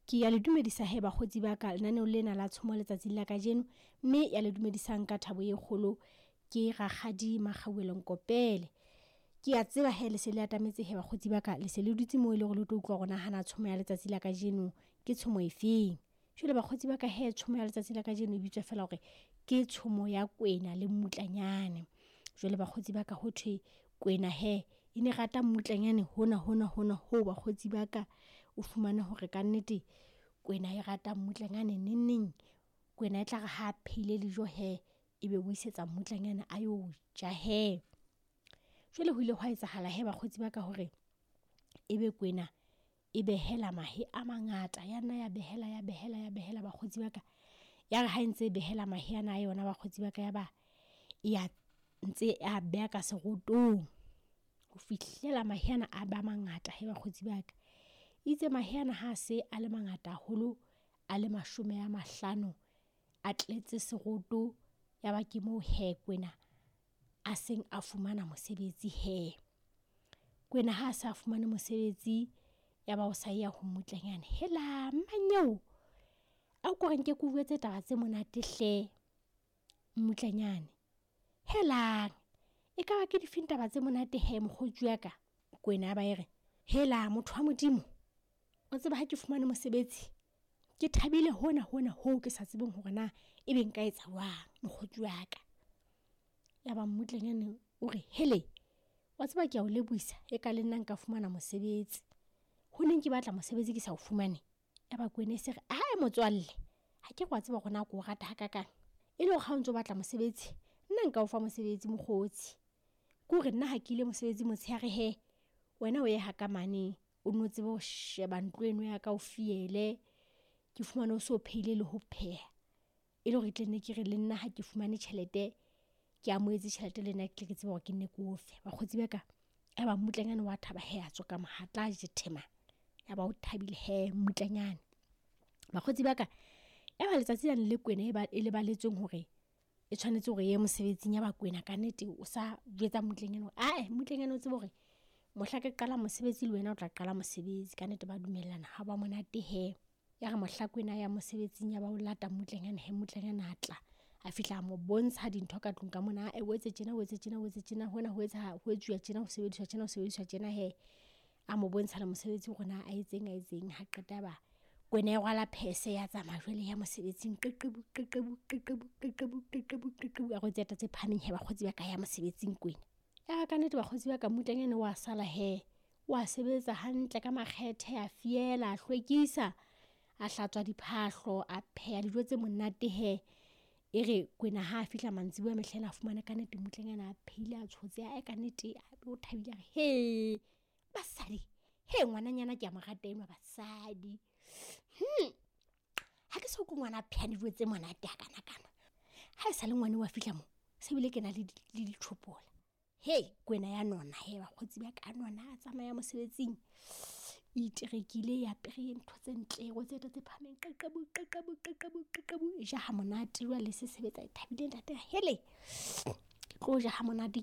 Ke ya le dumedisa he bakgotsi ba ka lenaneo lena la tshomo letsatsing la kajeno, mme ya le dumedisang ka thabo e kgolo ke Rakgadi Makgauwelo Nkopele. Ke a tseba he le se le atametse he bakgotsi ba ka, le se le dutse moo e le hore le tlo utlwa hore nahana tshomo ya letsatsi la kajeno ke tshomo efeng. Jwale bakgotsi ba ka he tshomo ya letsatsi la kajeno e bitswa feela hore ke tshomo ya kwena le mmutlanyane. Jwale bakgotsi ba ka ho thwe kwena he e ne rata mmutlanyane hona hona hona hoo bakgotsi ba ka o fumane hore kannete kwena e rata mmutlanyane neng neng. Kwena e tla re ha phehile dijo he, ebe o isetsa mmutlanyane a yo ja he. Jwale ho ile hwa etsahala he bakgotsi ba ka hore ebe kwena e behela mahe a mangata, ya nna ya behela ya behela ya behela bakgotsi ba ka. Ya re ha e ntse e behela mahe ana a yona bakgotsi ba ka, ya ba e ya ntse a beha ka serotong ho fihlela mahe ana a ba mangata he bakgotsi ba ka. Itse mahe ana ha se a le mangata haholo, a le 50 a tletse seroto, ya ba ke moo hee kwena a seng a fumana mosebetsi hee. Kwena ha a sa fumane mosebetsi, ya ba o sa ya ho mmutlanyane. Helang mmanyeo, a ko re nke ke o jwetse taba tse monate hle mmutlanyane. Helang, ekaba ke difeng taba tse monate hee mokgotsi wa ka? Kwena ya ba e re, hela motho wa Modimo, o tseba ha ke fumane mosebetsi, ke thabile hona hona hoo ke sa tsebeng hore na ebe nka etsa jwang mokgotsi wa ka. Ya ba mmutlanyane o re, hele wa tseba ke a o lebohisa eka le nna nka fumana mosebetsi. Ho neng ke batla mosebetsi ke sa o fumane. Ya ba kwena e se re, ae motswalle akere wa tseba hore na ko rata hakakang. E le hore ha o ntso batla mosebetsi, nna nka o fa mosebetsi mokgotsi. Ke hore nna ha ke ile mosebetsing motshehare hee, wena o ye ha ka mane o nno tsebe ho sheba ntlo eno ya ka o fiele. Ke fumane o so phehile le ho pheha. E le hore ke tle nne ke re le nna ha ke fumane tjhelete, ke amohetse tjhelete le nna ke tle ke tsebe hore ke nne ke o fe. Bakgotsi ba ka, ya ba mmutlanyane wa thaba he a tswa ka mohatla a jethema. Ya ba o thabile he mmutlanyane. Bakgotsi ba ka, ya ba letsatsi lane le kwena e ba e leballetsweng hore e tshwanetse hore e ye mosebetsing. Ya ba kwena kannete o sa jwetsa mmutlanyane hore ae mmutlanyane o tsebe hore mohla ke qalang mosebetsi le wena o tla qala mosebetsi. Kannete ba dumellana ha ba monate he. Ya re mohla kwena ya mosebetsing ya ba o lata mmutlanyane he, mmutlanyane a tla. A fihla a mo bontsha dintho ka tlung ka mona. Ae o etse tjena, o etse tjena, o etse tjena, hona ho etsahala, ho etsuwa tjena, ho sebediswa tjena, ho sebediswa tjena he. A mo bontsha le mosebetsi hore na a etseng a etseng. Ha qeta ba kwena e rwala phese ya tsamaya jwale ya mosebetsing. Qeqebu qeqebu qeqebu qeqebu qeqebu qeqebu. A rwetse dieta tse phahameng he bakgotsi ba ka ya mosebetsing kwena. Ya ka nnete bakgotsi ba ka mmutlanyane wa sala he. Wa sebetsa hantle ka makgethe, a fiela, a hlwekisa, a hlatswa diphahlo, a pheha dijo tse monate he. E re kwena ha fihla mantsiboya mehlaena a fumane kannete mmutlanyane a phehile a tshotse. Ae kannete o thabile a re, he basadi, he ngwananyana ke a mo rata enwa basadi. Ha ke so utlwe ngwana a phehang dijo tse monate hakanakana. Ha esale ngwana wa fihla mo, se bile ke na le le dithopola. He kwena ya nona he bakgotsi ba ka, nona a tsamaya mosebetsing. E iterekile, e apere ntho tse ntle, e rwetse dieta tse phahameng. Qeqebu qeqebu qeqebu qeqebu. E ja ha monate jwale e se sebetsa e thabile ntate. Hele, ke tlo ja ha monate.